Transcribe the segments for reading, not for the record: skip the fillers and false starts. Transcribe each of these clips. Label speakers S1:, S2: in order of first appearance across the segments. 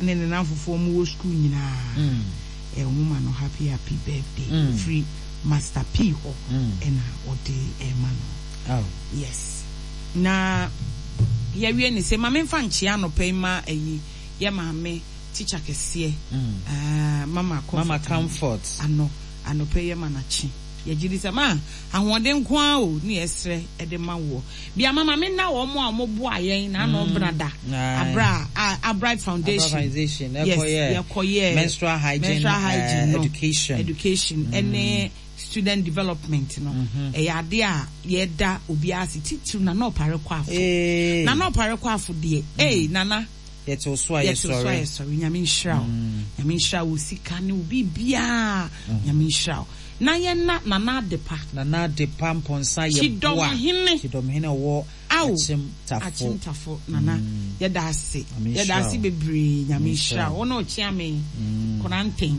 S1: Ama ne ne nnamfofoɔ ɔmo wɔ sukuu nyinaa eh, ɔmo ma no happy happy birthday ɛfiri Master P hɔ ɛna ɔde ɛma no. Yes. Na yɛawie ne sɛ ma memfa nkyea anɔpa yi ma ayi yɛ maame teacher kɛseɛ ah, Mama Comfort,
S2: Mama Comfort.
S1: Ano anɔpa yi yɛma no akye. Yɛgye di sɛ ma ahoɔden nko ara o ne yɛsrɛ de ma woɔ. Bia mama me nna wɔn a wɔn boa yɛn na ano bena da abra a Abright Foundation yes yɛkɔ yɛ
S2: menstrual hygiene,
S1: menstrual hygiene no
S2: education
S1: education ɛne student development no ɛyɛ ade a yɛda obiara ase titiriw Nana Ɔpare Kɔ Afo Nana Ɔpare Kɔ Afo deɛ ee Nana
S2: Yɛte so a
S1: yɛte so a yɛsɔre. Nyame nhyira wo. Nyame nhyira wo sika ne wo biribiara. Nyame nhyira wo. Na yɛnna Nana Adepa.
S2: Nana Adepa Mpɔnsa yɛ boa.
S1: Kyidɔmhene.
S2: Kyidɔmhene ɔwɔ Akyem Tafo.
S1: Akyem Tafo Nana yɛda ase. Yɛda ase bebree. Nyame nhyira wo. Wo ne Ɔkyeame Koranten.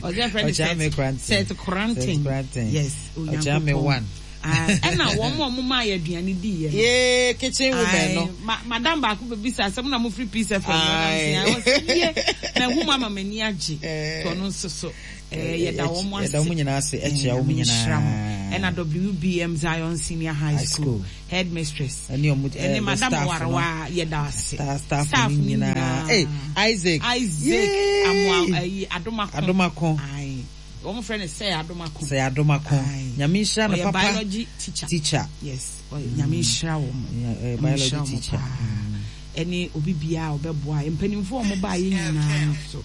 S1: Ɔsɛ frɛ no Seth Koranten. Yes.
S2: Onyankopɔn. Ɔkyeame one.
S1: Ɛna wɔn a wɔn maa yɛ aduane di yɛ
S2: no. Yee kitchen women no.
S1: Ma madam baako bɛ bisa asɛm na mo firi Peace FM. Ayi. Ɔsi yie na ehu mu ama m'ani agye. Tɔ no nso so yɛda wɔn ase.
S2: Yɛda wɔn nyinaa ase ɛkyia wɔn nyinaa.
S1: Ɛna WBM Zion Senior High School headmistress.
S2: Ɛne wɔn
S1: ɛne madam Warawa yɛda ase.
S2: Staff no nyinaa. Ee Isaac.
S1: Isaac Amoa ɛyi Adomako.
S2: Adomako.
S1: Ayi. Wɔn frɛ no Sir Adomako.
S2: Sir Adomako. Nyame nhyira no
S1: papa. Ɔyɛ biology teacher.
S2: Teacher.
S1: Yes. Nyame nhyira wɔn.
S2: Ɔyɛ biology teacher.
S1: Ɛne obi biara a ɔbɛboa. Mpanimfoɔ a wɔn baa yɛ nyinaa nso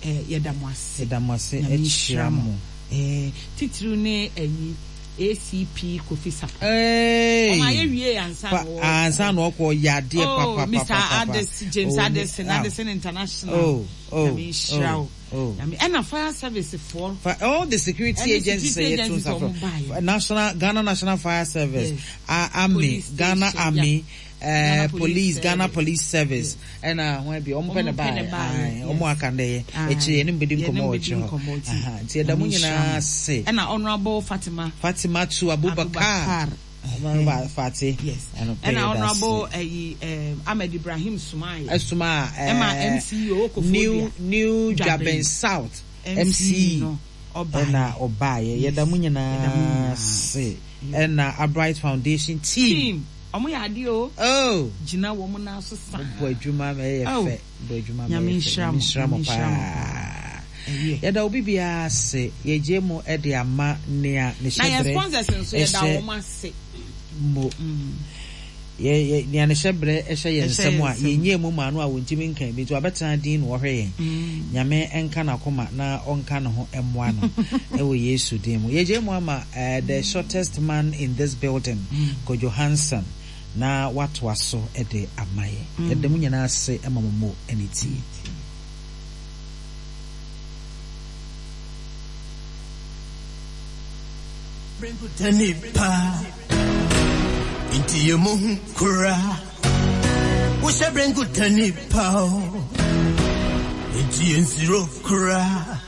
S1: yɛda mo ase.
S2: Yɛda mo ase. Nyame nhyira mo.
S1: Titiriw ne ɛyi ACP Kofi Sarpong. Wɔn ayɛ wie ansa na wɔkɔ.
S2: Ansa na wɔkɔ yɛ adeɛ papa papa.
S1: Mr. Addis James Addison Addison International.
S2: Oh oh.
S1: Nyame nhyira wo.
S2: Oh.
S1: Nyame ɛna fire service foɔ.
S2: Fa all the security agencies
S1: security agencies ɔmo baayɛ.
S2: National Ghana National Fire Service,
S1: yes.
S2: Army,
S1: Police
S2: Ghana
S1: station,
S2: Army,
S1: yeah.
S2: Police, Ghana Police Service, ɛna ho bi ɔmo pɛ ne baayɛ, ɔmo aka ndɛ yɛ, akyire yɛne mo bɛdi nkɔmɔ wɔ akyire hɔ. Nti yɛda mo nyinaa ase.
S1: Ɛna Honourable Fatima.
S2: Fatima tu Abubakar. Honourable Fati.
S1: Yes. Ɛna Honourable ɛyi Ahmed Ibrahim Sumaye.
S2: Ɛsuma
S1: ɛma MCE ɔwɔ Koforidua.
S2: New New Dwaben South MCE ɛna ɔbaayɛ. Yɛda mo nyinaa ase. Ɛna Abright Foundation team.
S1: Team. Ɔmo yɛ adeɛ o.
S2: Oh.
S1: Gyina wɔn nan so saa.
S2: Bɔ adwuma ma ɛyɛ fɛ. Bɔ adwuma ma ɛyɛ fɛ.
S1: Nyame nhyira mo. Nyame nhyira mo paa.
S2: Yɛda obi biara ase. Yɛgye mo de ama nea ne
S1: Na yɛn
S2: hyɛbrɛ
S1: sponsors nso yɛda
S2: hyɛ
S1: wɔn ase.
S2: mo. Yɛ yɛ nea ne hyɛbrɛ hyɛ yɛn
S1: Ɛhyɛ
S2: nsam
S1: yɛn
S2: a
S1: nsam.
S2: yɛnyɛɛ mu maa no a wɔntumi nka bi nti wabɛtena din na ɔhwɛ yɛn. Nyame nka n'akoma na ɔnka ne ho mmoa no wɔ Yesu din mu. Yɛgye mo ama eh, the shortest man in this building, Kojo Hanson, na watoa so de ama yɛn. Yɛda mo nyinaa ase ma mo mo ne tie.
S3: Nipa nti yɛ mo hu kura wohyɛ bere nkuta nipa o nti yɛ nsiro kura.